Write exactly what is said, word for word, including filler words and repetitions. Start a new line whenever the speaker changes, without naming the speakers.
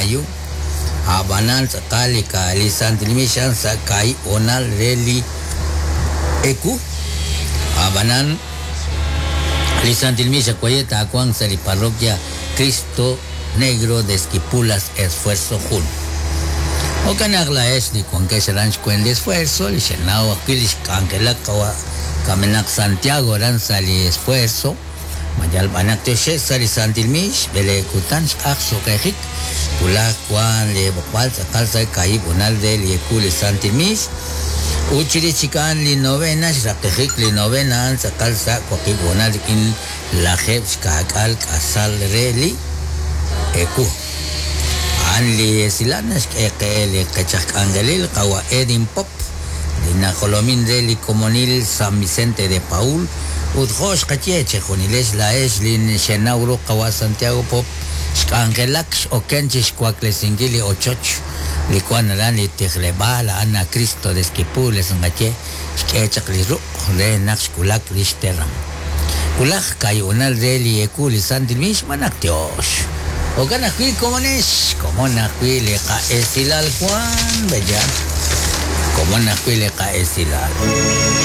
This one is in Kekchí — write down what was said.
mayo ab'anan tz'aqal li ka li santil miix a'an sa' kaahib' hoonal re li ewu ab'anan li santil miix awaye' taawanq sa' li parroquia Cristo Negro de Esquipulas Esfuerzo jun jo'kan naq laa'ex li wankex aran xkwen li Esfuerzo li xenaw ajwi' li xk'anjelak qawa' kamenaq Santiago aran sa' li Esfuerzo mayal b'anaq tioxej sa' li santil miix b'eleeb' kutan xq'aj suqejik wulaj wan li b'oqb'al tz'aqal sa' kaahib' hoonal re li ewu li santil miix ut chirix chik a'an li novena xraqejik li novena a'an tz'aqal sa' waqib' hoonal rik'in lajeeb' xka'k'aal k'asal re li ewu a'an li esilal naxk'e qe li qech aj k'anjelil qawa' Edin Pop li najolomin re li komonil San Vicente de Paul ut jo' xqaye chejunilex laa'ex li xenaw ru qawa' Santiago Pop xk'anjelak x'oken chi xwaklesinkil li ochoch li wan aran li tijleb'aal a'an a Cristo de Esquipulas nqaye xk'e chaq li ruq' re naq xwulak li xteram wulaj kaahib' re li ewu li santil miix manaq tiox jo'kan ajwi' komonex komon ajwi' li qa'esilal wan beya komon ajwi' li qa'esilal.